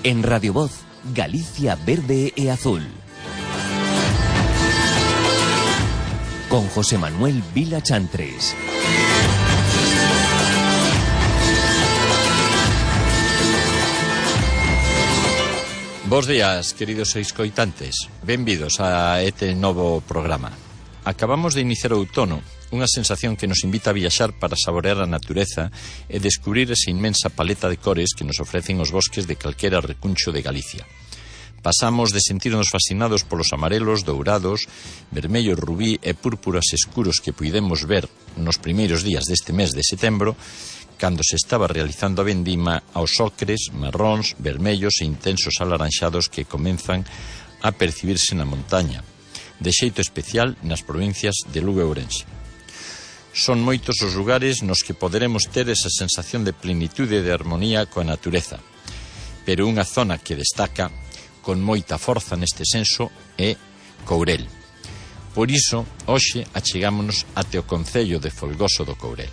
En Radio Voz, Galicia verde e azul. Con José Manuel Vila Chantres. Bos días, queridos escoitantes. Benvidos a este novo programa. Acabamos de iniciar o outono, unha sensación que nos invita a viaxar para saborear a natureza e descubrir esa inmensa paleta de cores que nos ofrecen os bosques de calquera recuncho de Galicia. Pasamos de sentirnos fascinados polos amarelos, dourados, vermellos, rubí e púrpuras escuros que puidemos ver nos primeiros días deste mes de setembro, cando se estaba realizando a vendima, aos ocres, marróns, vermellos e intensos alaranxados que comenzan a percibirse na montaña, de xeito especial nas provincias de Lugo e Ourense. Son moitos os lugares nos que poderemos ter esa sensación de plenitude e de armonía coa natureza, pero unha zona que destaca con moita forza neste senso é Courel. Por iso, hoxe achegámonos até o concello de Folgoso do Courel,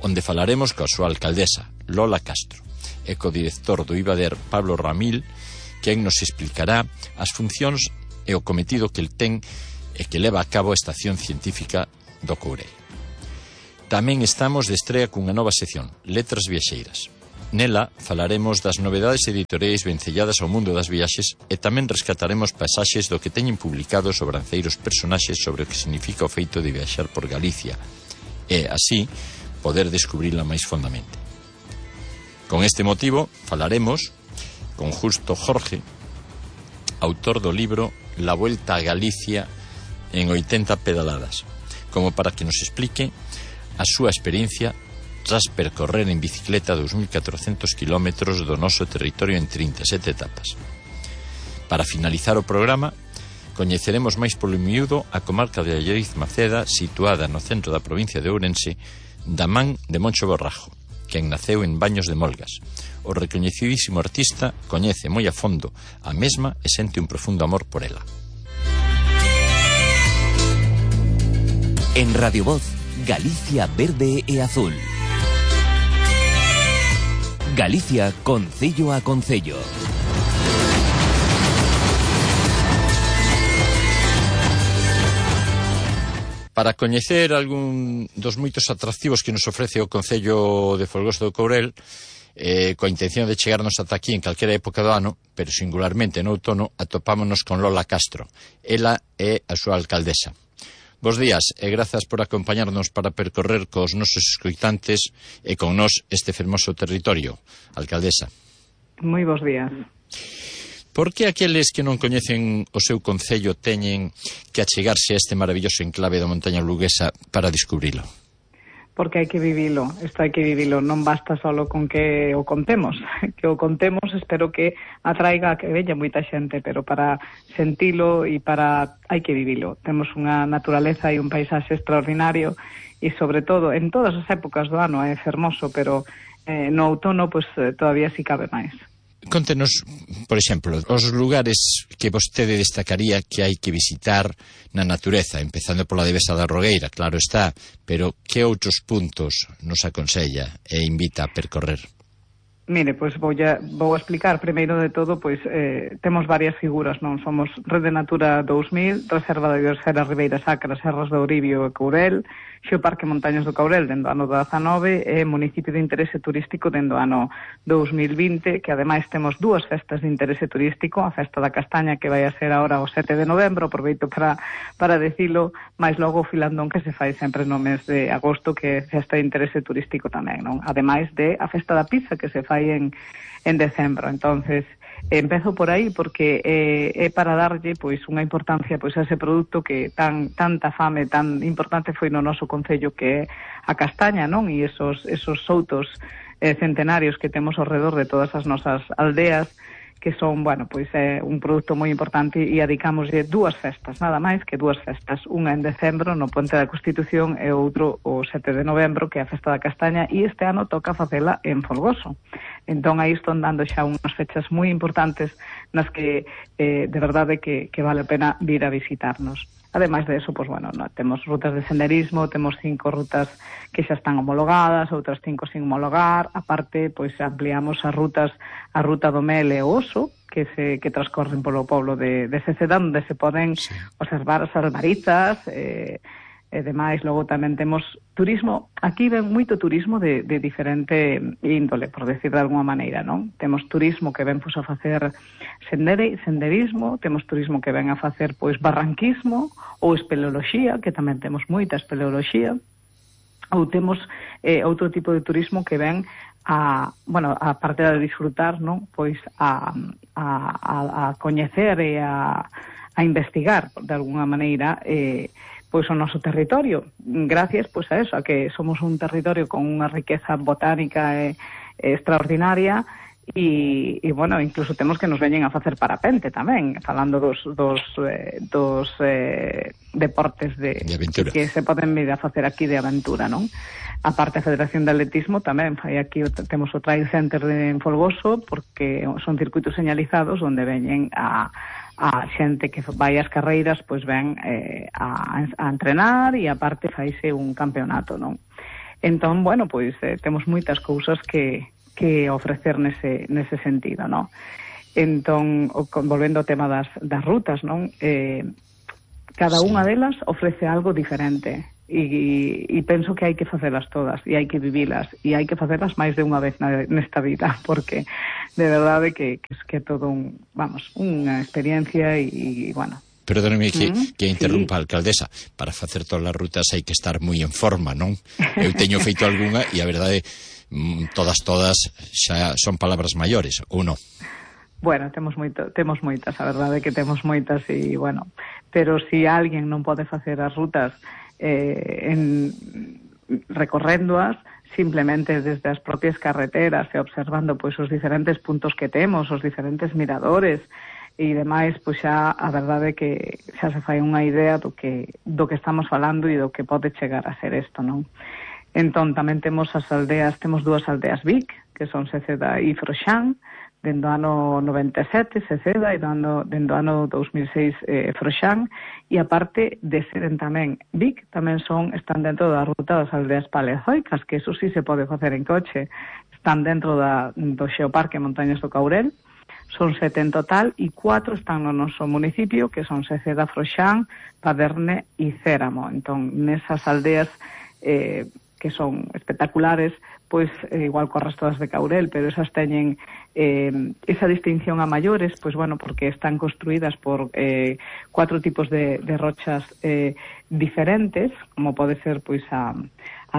onde falaremos coa súa alcaldesa, Lola Castro, e co director do IBADER, Pablo Ramil, quen nos explicará as funcións e o cometido que el ten e que leva a cabo a Estación Científica do Courel. Tamén estamos de estrea cunha nova sección, Letras Viaxeiras. Nela falaremos das novedades editoriais vencelladas ao mundo das viaxes e tamén rescataremos pasaxes do que teñen publicado sobranceiros personaxes sobre o que significa o feito de viaxar por Galicia e, así, poder descubrila máis fondamente. Con este motivo falaremos con Justo Jorge, autor do libro La Vuelta a Galicia en 80 pedaladas, como para que nos explique a súa experiencia tras percorrer en bicicleta 2.400 kilómetros do noso territorio en 37 etapas. Para finalizar o programa, coñeceremos máis polo miúdo a comarca de Allariz Maceda, situada no centro da provincia de Ourense, da man de Moncho Borrajo, quen naceu en Baños de Molgas. O recoñecidísimo artista coñece moi a fondo a mesma e sente un profundo amor por ela. En Radio Voz, Galicia verde e azul. Galicia concello a concello. Para coñecer algún dos moitos atractivos que nos ofrece o Concello de Folgoso do Courel, coa intención de chegarnos ata aquí en calquera época do ano, pero singularmente no outono, atopámonos con Lola Castro. Ela é a súa alcaldesa. Bos días e grazas por acompañarnos para percorrer cos nosos escoitantes e con nós este fermoso territorio, alcaldesa. Moi bos días. Por que aqueles que non coñecen o seu concello teñen que achegarse a este maravilloso enclave da montaña luguesa para descubrilo? Porque hai que vivilo, isto hai que vivilo, non basta solo con que o contemos, espero que atraiga a que veña moita xente, pero para sentilo e para hai que vivilo. Temos unha naturaleza e un paisaxe extraordinario e sobre todo en todas as épocas do ano é fermoso, pero no outono pues todavía si cabe máis. Contenos, por exemplo, os lugares que vostede destacaría que hai que visitar na natureza, empezando pola Devesa da Rogueira, claro está, pero que outros puntos nos aconsella e invita a percorrer? Mire, pois vou a explicar. Primeiro de todo, pois temos varias figuras, non? Somos Rede Natura 2000, Reserva da Biosfera Ribeira Sacra, Serras do Ouribio e Courel, Xeoparque Montañas do Courel dende o ano 19 e Municipio de Interese Turístico dende o ano 2020, que ademais temos dúas festas de interese turístico, a Festa da Castaña que vai a ser agora o 7 de novembro, aproveito para decilo, máis logo o filandón que se fai sempre no mes de agosto, que é festa de interese turístico tamén, non? Ademais de a Festa da Pizza que se fai en decembro. Entonces empezo por aí porque é para darlle pois unha importancia pois a ese produto que tanta fame, tan importante foi no noso concello, que é a castaña, non? E esos soutos centenarios que temos ao redor de todas as nosas aldeas, que son, bueno, pois é un produto moi importante e adicámoslle dúas festas, nada máis que dúas festas, unha en decembro no Ponte da Constitución e outro o 7 de novembro, que é a Festa da Castaña, e este ano toca facela en Folgoso. Entón aí están dando xa unhas fechas moi importantes nas que de verdade que vale a pena vir a visitarnos. Ademais de eso, pues bueno, temos rutas de senderismo, temos 5 rutas que xa están homologadas, outras 5 sin homologar, aparte, pois ampliamos as rutas, a ruta do Mel e o Oso, que transcorren polo poblo de Ceceda, onde se poden observar as albaritas, e demais. Logo tamén temos turismo, aquí ven moito turismo de diferente índole, por decir de alguma maneira, non? Temos turismo que ven pois a facer senderismo, temos turismo que ven a facer pois barranquismo ou espeleoloxía, que tamén temos moita espeleoloxía, ou temos outro tipo de turismo que ven a parte de disfrutar, non? Pois a coñecer e a investigar de alguna maneira pois o noso territorio, gracias pois a eso, a que somos un territorio con unha riqueza botánica extraordinaria e bueno, incluso temos que nos veñen a facer parapente tamén, falando dos deportes de aventura que se poden vir a facer aquí de aventura, non? A parte a Federación de Atletismo tamén fai aquí, temos o Trail Center en Folgoso, porque son circuitos señalizados onde veñen a xente que vai ás carreiras, pois ven a entrenar e aparte faise un campeonato, non? Entón, bueno, pois temos moitas cousas que ofrecer nese sentido, non? Entón, volvendo ao tema das rutas, non? Cada unha delas ofrece algo diferente e penso que hai que facelas todas e hai que vivilas e hai que facelas máis de unha vez nesta vida, porque de verdade que é todo unha experiencia e bueno. Perdóneme que interrumpa, alcaldesa, para facer todas as rutas hai que estar moi en forma, non? Eu teño feito algunha e a verdade todas xa son palabras maiores, ou non? Bueno, temos moitas, a verdade é que temos moitas e, bueno, pero se alguén non pode facer as rutas recorréndoas, simplemente desde as propias carreteras e observando pois os diferentes puntos que temos, os diferentes miradores e demais, pois xa a verdade é que xa se fai unha idea do que estamos falando e do que pode chegar a ser isto, non? Entón, tamén temos as aldeas, temos 2 aldeas Vic, que son Ceceda e Froxán, dentro do ano 97 Ceceda e dentro do ano 2006 Froxán, e aparte de seren tamén Vic, tamén están dentro da ruta das aldeas paleozoicas, que eso sí se pode facer en coche, están dentro do Xeoparque Montañas do Caurel, son 7 en total e 4 están no noso municipio, que son Ceceda, Froxán, Paderne e Céramo. Entón, nesas aldeas que son espectaculares, pois igual co resto das de Caurel, pero esas teñen esa distinción a maiores, pois bueno, porque están construídas por 4 tipos de rochas diferentes, como pode ser pois a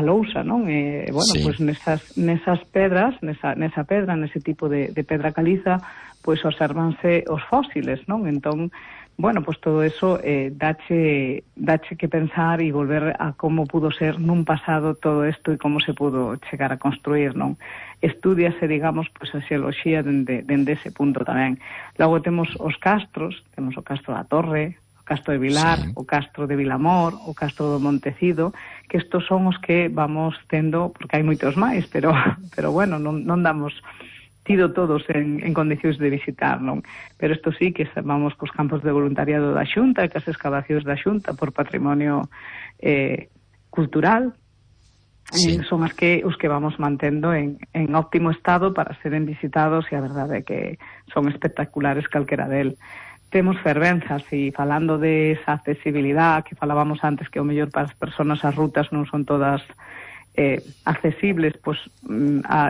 lousa, non? Bueno, sí. Pois nesas pedras, nesa pedra, nese tipo de pedra caliza, pois observanse os fósiles, non? Entón, bueno, pues todo eso dache que pensar e volver a como pudo ser nun pasado todo isto e como se pudo chegar a construir, non? Estúdiase, digamos, pues a xeoloxía dende ese punto tamén. Logo temos os castros, temos o Castro da Torre, o Castro de Vilar, sí. O Castro de Vilamor, o Castro do Montecido, que estos son os que vamos tendo, porque hai moitos máis, pero bueno, non damos tido todos en condicións de visitar, non? Pero isto sí que vamos cos campos de voluntariado da Xunta e cas excavacións da Xunta por patrimonio cultural, sí. Son os que vamos mantendo en óptimo estado para seren visitados e a verdade é que son espectaculares calquera del. Temos fervenzas e falando de esa accesibilidade que falábamos antes, que o mellor para as persoas as rutas non son todas accesibles, pois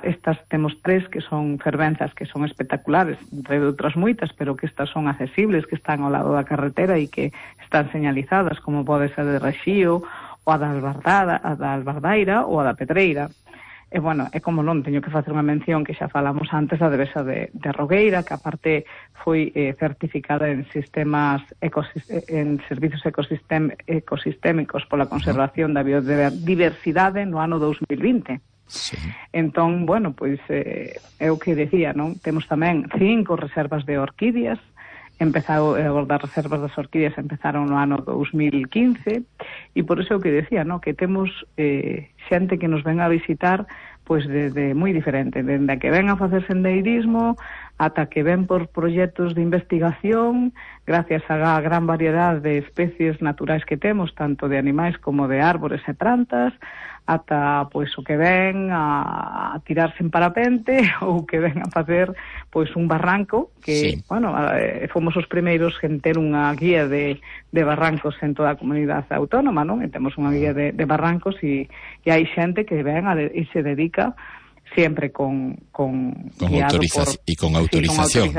estas temos 3 que son fervenzas que son espectaculares, entre outras moitas, pero que estas son accesibles, que están ao lado da carretera e que están señalizadas, como pode ser de Rexío, ou a da Albardaira ou a da Pedreira. E, bueno, é como non, teño que facer unha mención que xa falamos antes da devesa de Rogueira, que aparte foi certificada en servizos ecosistémicos pola conservación da biodiversidade no ano 2020. Sí. Entón, bueno, pois é o que decía, non? Temos tamén 5 reservas de orquídeas, das reservas das orquídeas empezaron no ano 2015 e por iso é o que decía, no? Que temos xente que nos ven a visitar pois desde moi diferente, dende a que ven a facer sendeirismo ata que ven por proxectos de investigación, gracias á gran variedade de especies naturais que temos, tanto de animais como de árbores e plantas, ata pois o que ven a tirarse en parapente ou que ven a facer pois un barranco que, bueno, fomos os primeiros en ter unha guía de barrancos en toda a comunidade autónoma, non? E temos unha guía de barrancos e hai xente que ven e se dedica siempre con autorización y con autorización,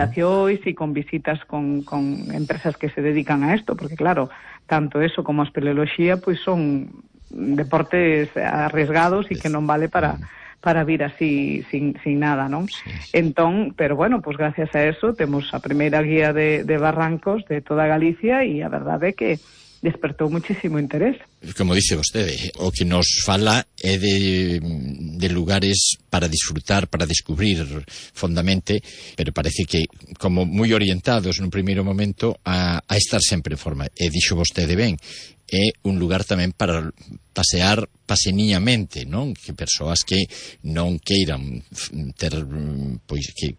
y con visitas con empresas que se dedican a esto, porque claro, tanto eso como a espeleoloxía pois son deportes arriesgados e que non vale para vir así sin nada, non? Entón, pero bueno, pues gracias a eso temos a primeira guía de barrancos de toda Galicia e a verdade é que despertou muchísimo interés. Como dice vostede, o que nos fala é de lugares para disfrutar, para descubrir fondamente, pero parece que como moi orientados nun primeiro momento a estar sempre en forma. E dixo vostede ben, é un lugar tamén para pasear paseniñamente, non? Que persoas que non queiran ter pois que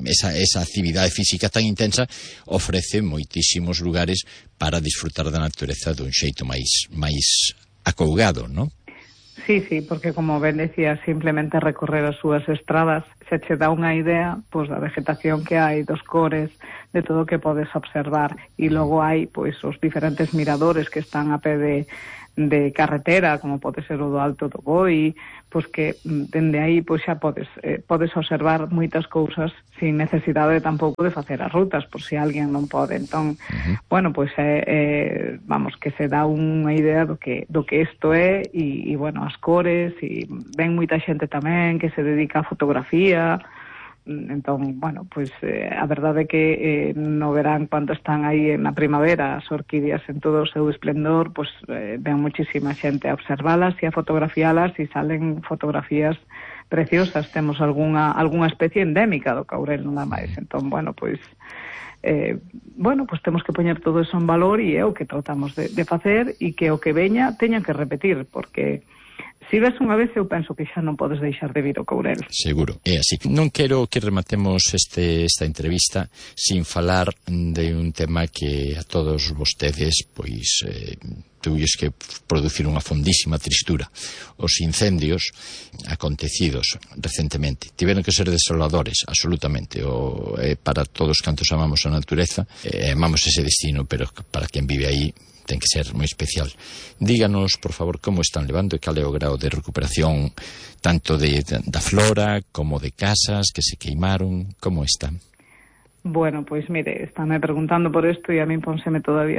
esa actividade física tan intensa ofrece moitísimos lugares para disfrutar da natureza dun xeito máis acougado, non? Sí, porque como ben decía, simplemente recorrer as súas estradas se che dá unha idea pois da vegetación que hai, dos cores, de todo o que podes observar, e logo hai pois os diferentes miradores que están a pé de carretera, como pode ser o do Alto do Boi, pois que dende aí pois xa podes observar moitas cousas sin necesidade tampouco de facer as rutas, por si alguén non pode. Entón, bueno, pois vamos, que se dá unha idea do que isto é, e bueno, as cores, e ven moita xente tamén que se dedica a fotografía. Entón, bueno, pois a verdade é que no verán, cando están aí na primavera as orquídeas en todo o seu esplendor, pois ven muchísima xente a observalas e a fotografialas, e salen fotografías preciosas. Temos algunha especie endémica do caurel, nada máis. Entón, bueno, pois temos que poñer todo eso en valor, e é o que tratamos de facer, e que o que veña teña que repetir, porque si ves unha vez, eu penso que xa non podes deixar de vir ao Courel. Seguro, é así. Non quero que rematemos esta entrevista sin falar de un tema que a todos vostedes pois tuvies que producir unha fondísima tristura. Os incendios acontecidos recentemente tiveron que ser desoladores, absolutamente. Para todos cantos amamos a natureza, amamos ese destino, pero para quen vive aí ten que ser moi especial. Díganos, por favor, como están levando e cal é o grao de recuperación tanto da flora como de casas que se queimaron, como están? Bueno, pois mire, estáme preguntando por isto e a min pónseme todavía